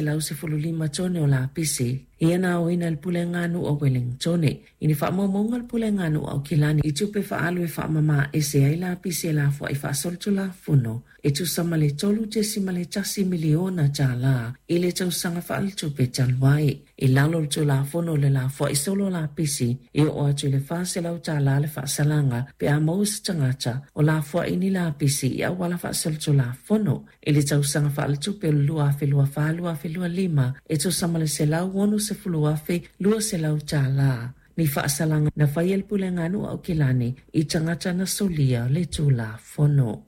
515 tone o lapisi ia na aoina e le Puleaganuu a Wellingtone i ni faamaumauga a le Puleaganuu a Aukilani i tupe faaalu e faamama ese ai lapisi e lafoai faasolitulafono e tusa ma le $3.1 miliona tālā i le tausaga faaletupe talu ai. I lalo o le Tulafono o le Lafoai Solo Lapisi, e oo atu i le $400 le faasalaga pe a maua se tagata o lafoai ni lapisi i auala faasolitulafono. I le tausaga faaletupe o le 2024/2025, e tusa ma le $160,200 ni faasalaga na faia e le Puleaganuu a Aukilani i tagata na solia le Tulafono.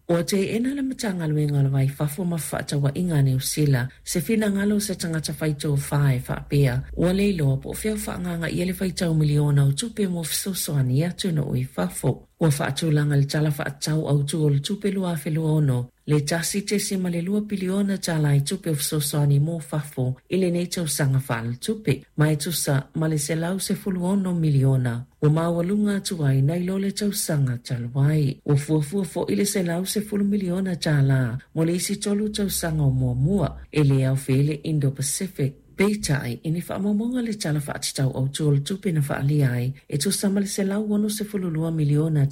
Ua teena le Matagaluega o le Va i Fafo ma Fefaatauaiga a Niu Sila se finagalo o se tagata fai tofa e faapea ua le iloa po o fea o faaagaaga i ai le faitau miliona o tupe mo fesoasoani i atunuu i fafo. Ua faatulaga i le Tala Faatatau Autu o le Tupe 2026 le $1.2 piliona i tupe o fesoasoani mo fafo i lenei tausaga faaletupe, ma e tusa ma le $116 miliona ua maualuga atu ai nai lo le tausaga talu ai. Ua fuafua foi le $110 miliona mo le isi 3 tausaga o muamua, e le aofia ai le Indo-Pacific. Peitai, i ni faamaumauga a le Tala Faatatau Autu o le Tupe na faaalia ai, e tusa ma le $162 miliona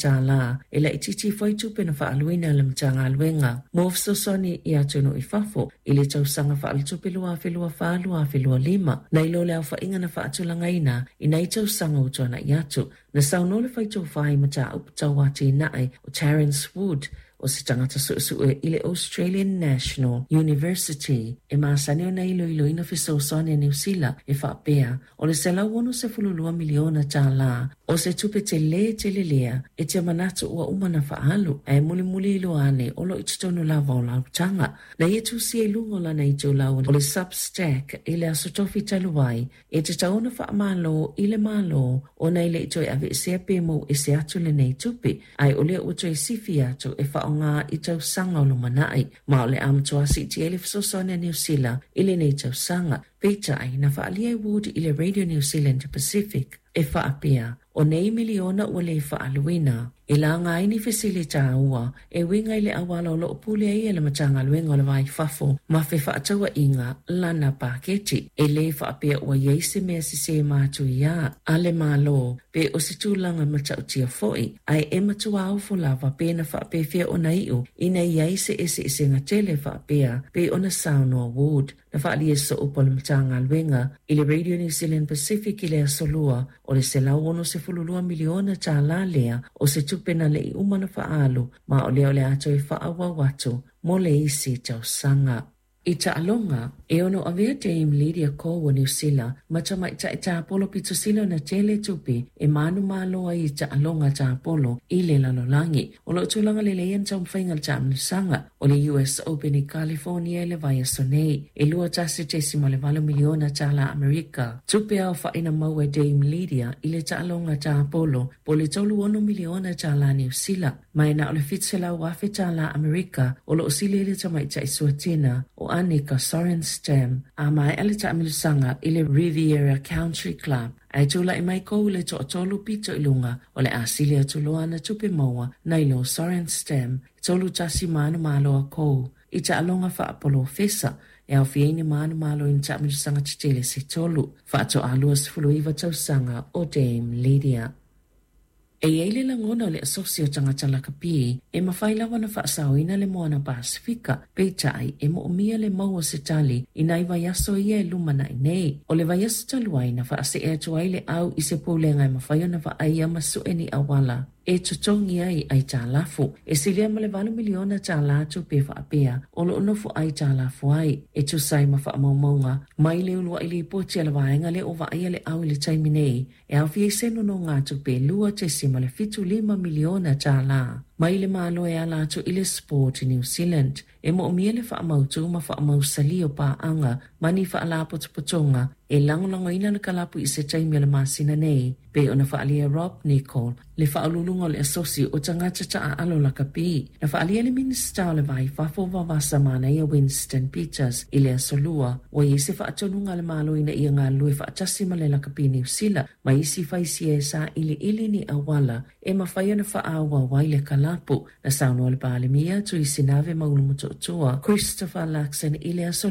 e laitiiti ifo ai tupe na faaaluina e le Matagaluega mo fesoasoani i atunuu i fafo i le tausaga faaletupe 2024/2025, nai lo le aofaiga na faatulagaina i nai tausaga ua tuanai atu. Na saunoa le faitofa i mataupu tau atinae o Terence Wood, o se tagata suesue i le Australian National University e masani ona iloiloina fesoasoani a Niu Sila e faapea, o le $162 miliona o se tupe telē tele lea e te manatu ua uma ona faaalu, ae mulimuli iloa ane o lo o i totonu lava o lau taga. Na ia tusia i luga o lana itulau o le Substack i le Aso Tofi talu ai, e tatau ona faamalo i le Malo ona e le i toe aveesea pe mou ese atu lenei tupe, ae o lea ua toe sifi atu e faaaoga i tausaga o lumanai, ma o le a matua siitia ai le fesoasoani a Niu Sila i lenei tausaga. Peitai, na faaalia e Wood i le Radio New Zealand Pacific e faapea, o nei miliona ua le faaaluina, e laga ai ni fesili tāua e uiga i le auala o lo o pule ai e le Matagaluega o le Va i Fafo ma Fefaatauaiga lana paketi. E le faapea ua i ai se mea sesē matuia a le Malo pe o se tulaga matautia foi, ae e matua ofo lava pe na faapefea ona iu ina i ai se eseesega tele faapea pei ona saunoa Wood. Na faaalia e Sooupu a le Matagaluega i le Radio New Zealand Pacific i le Aso Lua o le $162 miliona lea o se tupe na le i uma ona faaalu ma o lea o le a toe faaauau atu mo le isi tausaga. I taaloga, e ono avea Dame Lydia Ko o Niu Sila ma tamaitai tapolo pito sili ona tele tupe e manumalo ai i taaloga tapolo i le lalolagi. O lo o tulaga lelei ana taumafaiga i le taamilosaga o le US Open i California i le vaiaso nei, e $21.8 miliona tālā Amerika. Tupe aofaʻi na maua e Dame Lydia i le taaloga tapolo po o le $36 miliona tālā Niu Sila, ma e na o le $700,000 tālā Amerika o lo o sili ai le tamaitai suatena o Annika Sorenstam. A maea le taamilosaga i le Riviera Country Club, ae tulai mai Ko i le toatolu pito i luga o le a sili atu loa ana tupe maua nai lo Sorenstam, 3-1 manumalo a Ko i taaloga faapolofesa e aofia ai ni manumalo i ni taamilosaga tetele se tolu. Faatoa 29 tausaga o Dame Lydia. E i ai le lagona o le Asosi o Tagata Lakapi e mafai lava ona faasaoina le Moana Pasefika, peitai e moomia le maua o se tali i nai vaiaso ia e lumanai nei. O le vaiaso talu ai na faasee atu ai le au i se pulega e mafai ona vaaia ma sue ni auala e totogi ai aitalafu. E silia ma le $8 miliona tupe faapea o lo o nofo aitalafu ai, e tusa ai ma faamaumauga mai le uluai lipoti a le vaega lea o vaaia le au i le taimi nei, e aofia ai se nonogatupe $2.75 miliona mai le Malo e ala atu i le Sport New Zealand. E moomia le faamautu ma faamausali o paaga ma ni faalapotopotoga e lagolagoina le kalapu i se taimi o le masina nei, pei ona faaalia e Rob Nichol, le faauluuluga o le Asosi o Tagata Taaalo Lakapi. Na faaalia e le Minisita o le Va i Fafo Vavasa Manaia Winston Peters i le Aso Lua, ua i ai se faatonuga a le Malo ina ia galulue faatasi ma le Lakapi Niu Sila ma isi faisia e sailiili ni auala e mafai ona faaauau ai le kalapu. Na saunoa le Palemia Tuisinave Maulu Motootua Christopher Luxon i le Aso